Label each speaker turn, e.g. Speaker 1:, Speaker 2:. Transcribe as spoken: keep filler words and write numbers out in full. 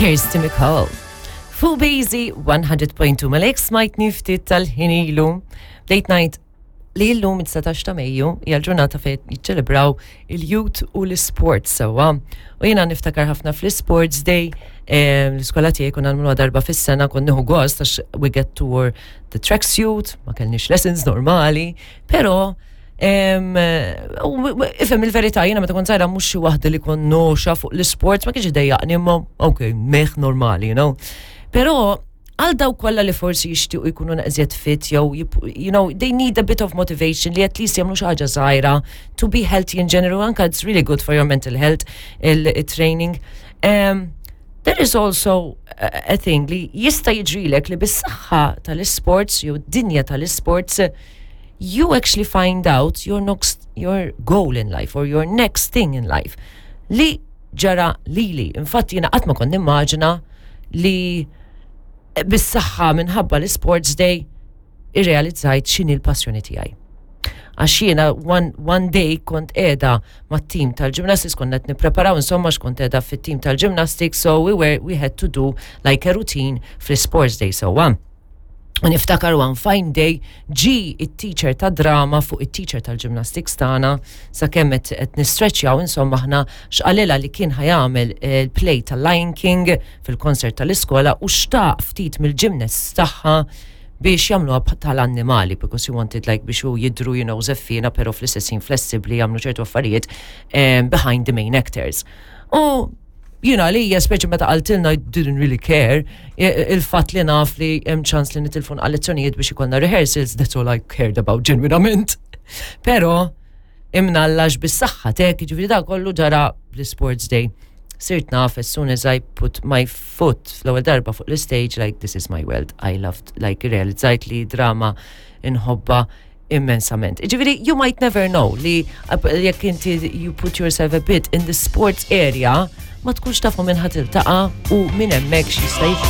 Speaker 1: Kirsty MacColl. Fuq Busy one hundred point two Malek smajtni ftit tal-ħin ilu. Bdejt ngħid li llum id-dsatax ta' Mejju hija l-ġurnata fejn jiċċelebraw il-youth u l-sports sewwa. U jiena niftakar ħafna fl-Sports Day, eh, l-iskola tiegħi konna nagħmluha darba fis-sena, kont nieħu gost għax we get to wear the tracksuit, ma kellniex lessons normali, però Em, u- u- Ifhem il-verità, jiena meta kont żgħira mhux xi waħda li kont noxa fuq l-sports, ma kienx idejjaqni, imma ok, meh normali, you know. Però għal dawk kollha li forsi jixtiequ jkunu naqżiet fit jew jip- you know, they need a bit of motivation li at least jagħmlu xi ħaġa żgħira to be healthy in general, anka it's really good for your mental health, il-training. Um, there is also a, a thing li jista' jiġrilek li bis-saħħa tal-sports jew dinja tal-sports you actually find out your next your goal in life or your next thing in life. Li ġara lili. Infatti jiena qatt ma kont nimmaġina li bis-saħħa minħabba l-Sports Day irrealizzajt x'inhi l-passjoni tiegħi. Għax jiena one, one day kont qiegħda mat-team tal-gymnastics, konna qed nippreparaw insomma, x'kont qiegħda fit-team tal-gymnastics, so we were we had to do like a routine fl-Sports Day, so one. U niftakar one fine day ġi it-teacher ta' drama fuq it-teacher tal-gymnastics tagħna sakemm qed qed nistretchjaw insomma aħna, x'qalilha li kien ħa jagħmel il-play tal-Lion King fil-konsert tal-iskola u xtaq ftit mill-gymnasts tagħha biex jagħmluha tal-annimali because he wanted like biex hu jidru you know żeffiena pero fl-istess ħin flessibbli, jagħmlu ċertu affarijiet um, behind the main actors. U jina li hija speċi meta qaltilna, I didn't really care, il-fatt li naf li hemm ċans li nitilfu lezzjonijiet biex ikollna rehearsals, that's all I cared about ġenwinament. Pero imnallax bis-saħħa tek, ġifieri da kollu ġara bl-Sports Day. Sirt naf as soon as I put my foot fl-ewwel darba fuq l-stage, like, this is my world. I loved, like, realizzajt li drama inħobba immensament. Ġifieri, you might never know li jekk inti you put yourself a bit in the sports area, ma tkunx tafu minn ħa tiltaqa' u minn hemmhekk x'jista' jiġri.